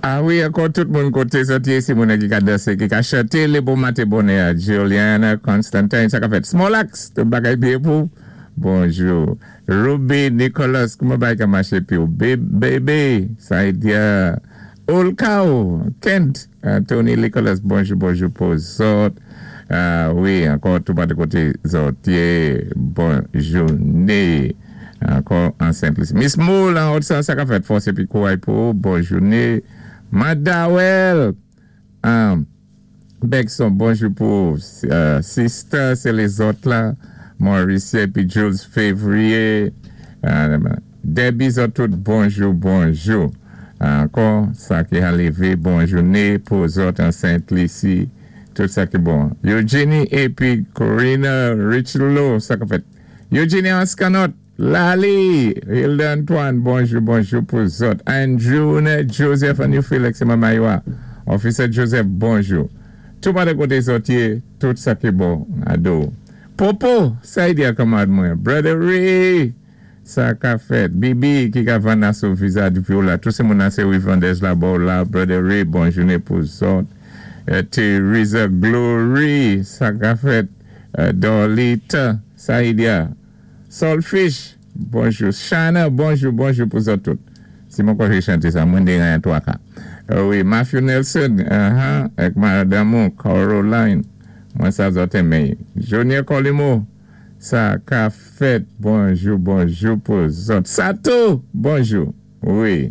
A wi, ankò tout moun koté zòt yé, si moun-nan ki ka dansé, ki ka chanté lé bon maten bonè a. Juliana Constantine, sa ka fèt? Small Axe, tout bagay byen pou ou? Bonjou. Ruby Nicholas, kouman bagay ka maché pi ou? Bebe, Saidia, Olkao, Kent, Tony Nicholas, bonjou bonjou pou zòt. A wi, ankò tou pati koté zòt yé, bon jouné. Ankò an Senplisi. Miss Moule an Haut-Centre, sa ka fèt? Fòs épi kouray pou ou, bon jouné. Madawèl! Bèkson, bonjou pou ou. Sista, se lezòt la. Mauricia épi Jules Février. Debbie zòt tout bonjou bonjou. Ankò sa ki ha lévé bon jouné pou zòt an Sentlisi. Tout sa ki bon. Eugenie épi Corina Richelo, sa ka fèt? Eugenie Anscanot, Laly, Hilda Antoine, bonjou bonjou pou zòt. Andrew Joseph and New Felix se manman yo a. Officer Joseph bonjou. Tou pade koté zòt yé, tout sa ki bon ado. Popo, sa y di a kanmarad mwen? Brother Ray, sa ka fèt? Bibi ki ka vann aso visa dpi w la. Tou se moun ase wi vandèz la ba w la. Brother Ray, bon jounen pou zòt. Theresa Glory, sa ka fèt? Dorlita, Saidia, Solfish, bonjou Shana, bonjou bonjou pou zòt tout. Si mwen konje chante sa, mwen deran 3 ka. Wi, Matthew Nelson, uh-huh, ak madanm ou Caroline, mwen sa zòt enmen. Junior Colimo, sa ka fèt, bonjou bonjou pou zòt. Sato, bonjou. Wi.